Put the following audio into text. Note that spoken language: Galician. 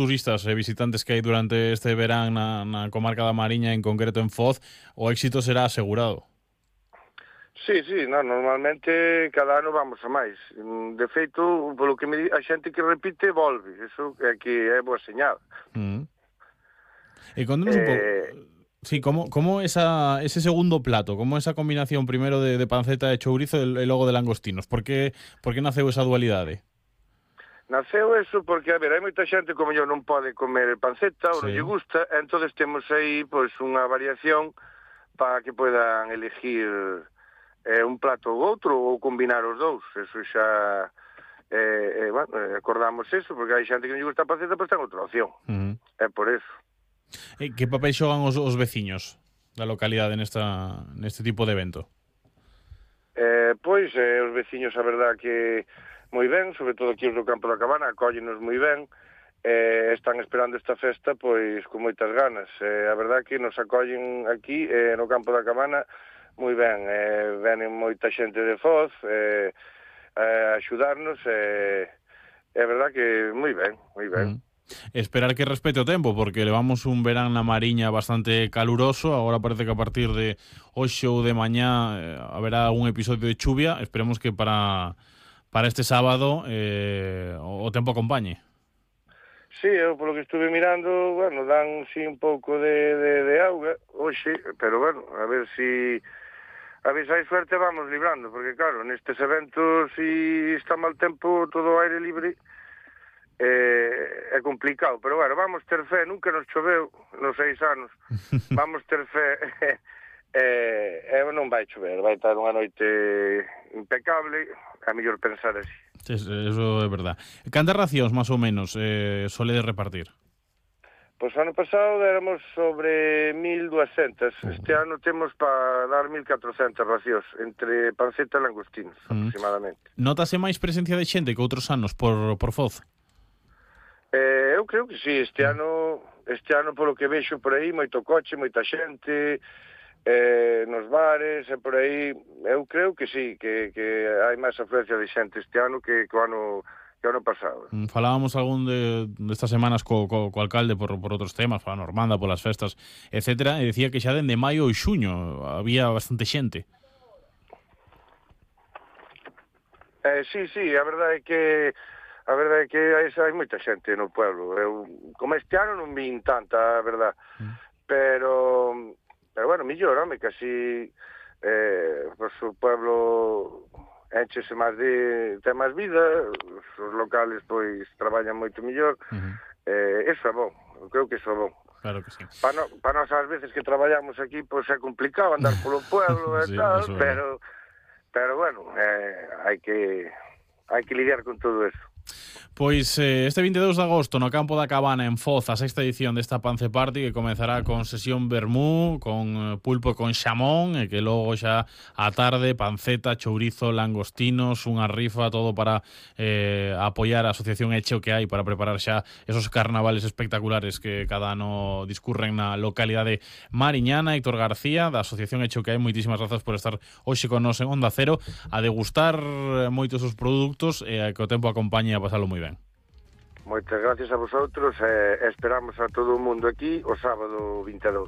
turistas e visitantes que hai durante este verán na comarca da Mariña, en concreto en Foz, o éxito será asegurado. Sí, normalmente cada ano vamos a máis. De feito, polo que me di, a xente que repite volve, eso é que é boa señal. E contanos un pouco, sí, como ese segundo plato, como esa combinación primero de panceta e chourizo e logo de langostinos, por que naceu esa dualidade? Naceu eso porque, a ver, hai moita xente como eu non pode comer panceta ou non lle gusta, entonces temos aí pois unha variación para que poidan elegir un plato ou outro ou combinar os dous. Eso xa acordamos eso, porque hai xente que non lle gusta a panceta, pois ten outra opción. É por eso. E que papel xogan os veciños da localidade neste tipo de evento? Pois, os veciños, a verdad que moi ben, sobre todo aquí os do Campo da Cabana, acóllenos moi ben, están esperando esta festa pois con moitas ganas. A verdad que nos acollen aquí no Campo da Cabana moi ben, venen moita xente de Foz a axudarnos, é verdad que moi ben, moi ben. Esperar que respete o tempo, porque levamos un verán na Mariña bastante caluroso. Agora parece que a partir de hoxe ou de mañá haberá un episodio de chuvia. Esperemos que para este sábado o tempo acompañe. Sí, eu polo que estuve mirando, bueno, dan sí un pouco de auga hoxe, pero bueno, a ver se hai suerte vamos librando, porque claro, nestes eventos si está mal tempo, todo o aire libre, é complicado, pero bueno, vamos ter fe, nunca nos choveu nos 6 anos, vamos ter fe, non vai chover, vai estar unha noite impecable, é mellor pensar así. Eso é verdad. Cantas racións, máis ou menos, soledes repartir? Pois ano pasado éramos sobre 1.200, este ano temos para dar 1.400 racións, entre panceta e langostinos, aproximadamente. Notase máis presencia de xente que outros anos por Foz? Eu creo que sí, este ano polo que vexo por aí, moito coche, moita xente, nos bares e por aí, eu creo que sí, que hai máis afluencia de xente este ano que o ano pasado. Falábamos algún destas semanas co alcalde por outros temas, pola Normanda, polas festas, etcétera, e decía que xa dende maio ou xuño había bastante xente. Sí, a verdade é que hai moita xente no pueblo. Eu, como este ano non vin tanta, a verdade. Pero bueno, millor, home, casi pues, o pueblo enchese máis ten máis vida, os locales pois traballan moito mellor. Eso é bon, eu creo que eso é bon. Claro que sí. Para nós ás veces que traballamos aquí pois é complicado andar polo pueblo e tal, pero bueno, hai que lidiar con todo eso. Pois este 22 de agosto no Campo da Cabana en Foz, a sexta edición desta Pance Party, que comezará con sesión vermú, con pulpo con xamón, e que logo xa á tarde panceta, chourizo, langostinos, unha rifa, todo para apoiar a asociación Eche o que hai para preparar xa esos carnavales espectaculares que cada ano discurren na localidade mariñana. Héctor García, da asociación Eche o que hai, moitísimas grazas por estar hoxe con nos en Onda Cero a degustar moitos os produtos e que o tempo acompañe a pasalo moi ben. Moitas gracias a vosotros e esperamos a todo o mundo aquí o sábado 22.